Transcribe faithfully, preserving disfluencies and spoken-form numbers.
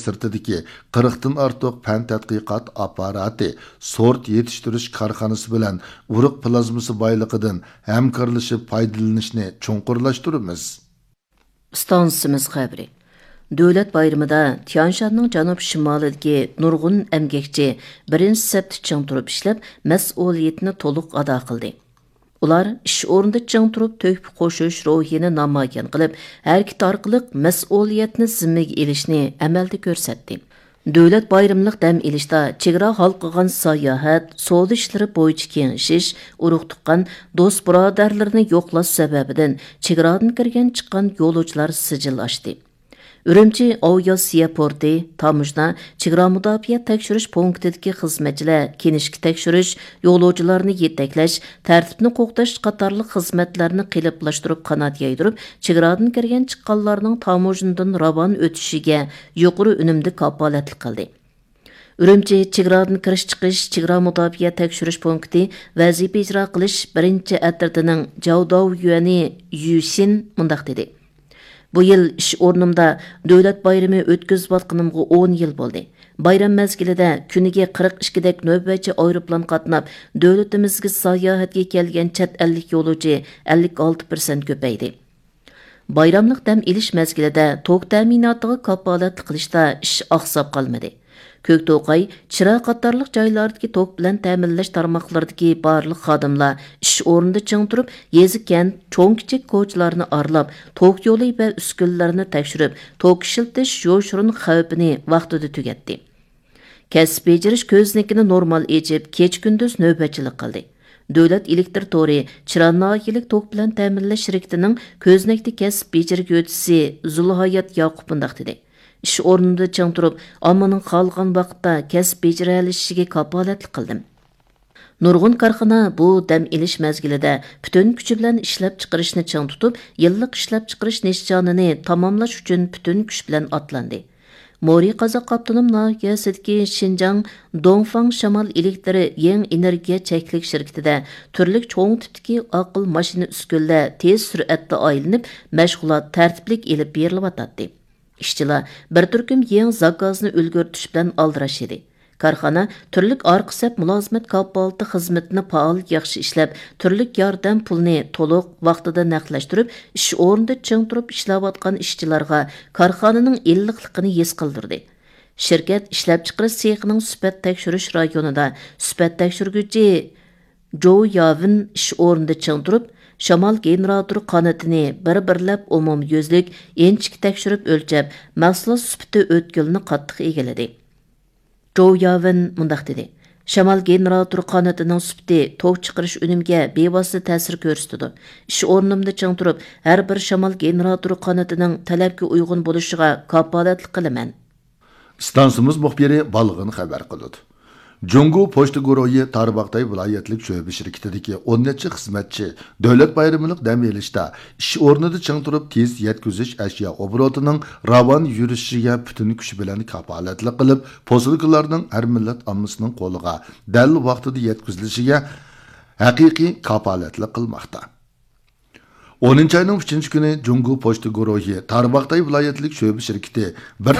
سىرتىدىكى قىرىقتىن ئارتۇق پەن تەتقىقات ئاپپاراتى، سورت يېتىشتۈرۈش كارخانىسى بىلەن ئۇرۇق پلازمىسى بايلىقىدىن ھەمكارلىشىپ پايدىلىنىشنى چوڭقۇرلاشتۇرىمىز. ئىستانسىمىز خەۋىرى. دۆلەت بايرىمىدا تيانشاننىڭ جەنۇب شىمالىدىكى نۇرغۇن ئەمگەكچى بىرىنچى سەپتە چىڭ تۇرۇپ ئىشلەپ، مەسئۇلىيىتىنى تولۇق ئادا قىلدى. ئۇلار ئىش ئورنىدا چىڭ تۇرۇپ تۆھپە قوشۇش روھىنى نامايان قىلىپ، ھەرىكىتى ئارقىلىق مەسئۇلىيەتنى زىممىگە ئېلىشنى ئەمەلدە كۆرسەتتى. دۆلەت بايرىملىق دەم ئېلىشتا چېگرا ھالقىغان ساياھەت، سودا ئىشلىرى بويىچە كېڭىشىش، ئۇرۇق-تۇغقان، دوست-بۇرادەرلىرىنى يوقلاش سەۋەبىدىن چېگرادىن كىرگەن چىققان يولۇچىلار سىجىل ئاشتى. ئۈرۈمچى ئاۋىئاتسىيە پورتى، تاموژنا، چېگرا مۇداپىئە تەكشۈرۈش پونكىتىدىكى خىزمەتچىلەر كىنىشكا تەكشۈرۈش، يولۇچىلارنى يېتەكلەش، تەرتىپنى قوغداش قاتارلىق خىزمەتلەرنى قېلىپلاشتۇرۇپ قانات يايدۇرۇپ، چېگرادىن كىرگەن چىققانلارنىڭ تاموژنىدىن راۋان ئۆتۈشىگە يۇقىرى ئۈنۈمدە كاپالەتلىك قىلدى. ئۈرۈمچى چېگرادىن كىرىش چىقىش چېگرا مۇداپىئە تەكشۈرۈش پونكىتى ۋەزىپە ئىجرا قىلىش بىرىنچى ئەترىتىنىڭ جاۋداۋ يۈەنى يۈشىن مۇنداق دېدى: بۇ يىل ئىش ئورنۇمدا دۆلەت بايرىمى ئۆتكۈزۈۋاتقىنىمغا ئون يىل بولدى. بايرام مەزگىلىدە كۈنىگە قىرىق ئىككىدەك نۆۋەتچى ئايروپىلان قاتناپ، دۆلىتىمىزگە ساياھەتكە كەلگەن چەت ئەللىك يولۇچى ئەللىك ئالتە پىرسەنت كۆپەيدى. بايراملىق دەم ئېلىش مەزگىلىدە توك تەمىناتىغا كاپالەتلىك قىلىشتا ئىش ئاقساپ قالمىدى. كۆكتوقاي، چىرا قاتارلىق جايلاردىكى توك بىلەن تەمىنلەش تارماقلىرىدىكى بارلىق خادىملار ئىش ئورنىدا چىڭ تۇرۇپ، يېزا، كەنت، چوڭ، كىچىك كوچىلارنى ئارىلاپ، توك يولى ۋە ئۈسكۈنىلەرنى تەكشۈرۈپ، توك ئىشلىتىش يوشۇرۇن خەۋپىنى ۋاقتىدا تۈگەتتى. كەسىپ بېجىرىش كۆزنىكىنى نورمال ئېچىپ، كېچە-كۈندۈز نۆۋەتچىلىك قىلدى. دۆلەت ئېلېكتىر تورى چىرا ناھىيەلىك توك بىلەن تەمىنلەش شىركىتىنىڭ كۆزنەكتە كەسىپ بېجىرگۈچىسى زۇلھايات ياقۇپ مۇنداق دېدى: ئىش ئورنىدا چىڭ تۇرۇپ، ئاممىنىڭ خالىغان ۋاقىتتا كەسىپ بېجىرەلىشىشىگە كاپالەتلىك قىلدىم. نۇرغۇن كارخانا بۇ دەم ئېلىش مەزگىلىدە پۈتۈن كۈچى بىلەن ئىشلەپچىقىرىشنى چىڭ تۇتۇپ، يىللىق ئىشلەپچىقىرىش نىشانىنى تاماملاش ئۈچۈن پۈتۈن كۈچ بىلەن ئاتلاندى. مورى قازاق ئاپتونوم ناھىيەسىدىكى شىنجاڭ دوڭفاڭ شامال ئېلېكتىر يېڭى ئېنېرگىيە چەكلىك شىركىتىدە تۈرلۈك چوڭ تىپتىكى ئاقىل ماشىنا ئۈسكۈنىلەر تېز سۈرئەتتە ئايلىنىپ، مەشغۇلات تەرتىپلىك ئېلىپ بېرىلىۋاتاتتى. ئىشچىلار بىر تۈركۈم يېڭى زاكازنى ئۈلگۈرتۈش بىلەن ئالدىراش ئىدى. كارخانا تۈرلۈك ئارقا سەپ مۇلازىمەت كاپالىتى خىزمىتىنى پائال ياخشى ئىشلەپ، تۈرلۈك ياردەم پۇلىنى تولۇق ۋاقتىدا نەقلەشتۈرۈپ، ئىش ئورنىدا چىڭ تۇرۇپ ئىشلەۋاتقان ئىشچىلارغا كارخانىنىڭ ئىللىقلىقىنى ھېس قىلدۇردى. شىركەت ئىشلەپچىقىرىش سېخىنىڭ سۈپەت تەكشۈرۈش رايونىدا سۈپەت تەكشۈرگۈچى جوۋ ياۋېن ئىش ئورنىدا چىڭ تۇرۇپ، شامال گېنېراتور قانىتىنى بىر-بىرلەپ ئومۇميۈزلۈك ئىنچىكە تەكشۈرۈپ ئۆلچەپ، مەھسۇلات سۈپىتى ئۆتكىلىنى قاتتىق ئىگىلىدى. جوۋ ياۋېن مۇنداق دېدى: شامال گېنېراتور قانىتىنىڭ سۈپىتى توك چىقىرىش ئۈنۈمىگە بىۋاسىتە تەسىر كۆرسىتىدۇ. ئىش ئورنۇمدا چىڭ تۇرۇپ، ھەر بىر شامال گېنېراتور قانىتىنىڭ تەلەپكە ئۇيغۇن بولۇشىغا كاپالەتلىك قىلىمەن. ئىستانسىمىز مۇخبىرى بالغىن خەۋەر قىلىدۇ. جۇڭگو پوچتا گۇرۇھى تارباغاتاي ۋىلايەتلىك شۆبە شىركىتىدىكى ئون نەچچە خىزمەتچى دۆلەت بايرىملىق دەم ئېلىشتا ئىش ئورنىدا چىڭ تۇرۇپ، تېز يەتكۈزۈش ئەشيا ئوبوروتىنىڭ راۋان يۈرۈشىگە پۈتۈن كۈچى بىلەن كاپالەتلىك قىلىپ، پوسۇلكىلارنىڭ ھەر مىللەت ئاممىسىنىڭ قولىغا دەل ۋاقتىدا يەتكۈزۈلۈشىگە ھەقىقىي كاپالەتلىك قىلماقتا. ئونىنچى ئاينىڭ ئۈچىنچى كۈنى جۇڭگو پوچتا گۇرۇھى تارباغاتاي ۋىلايەتلىك شۆبە شىركىتى بىر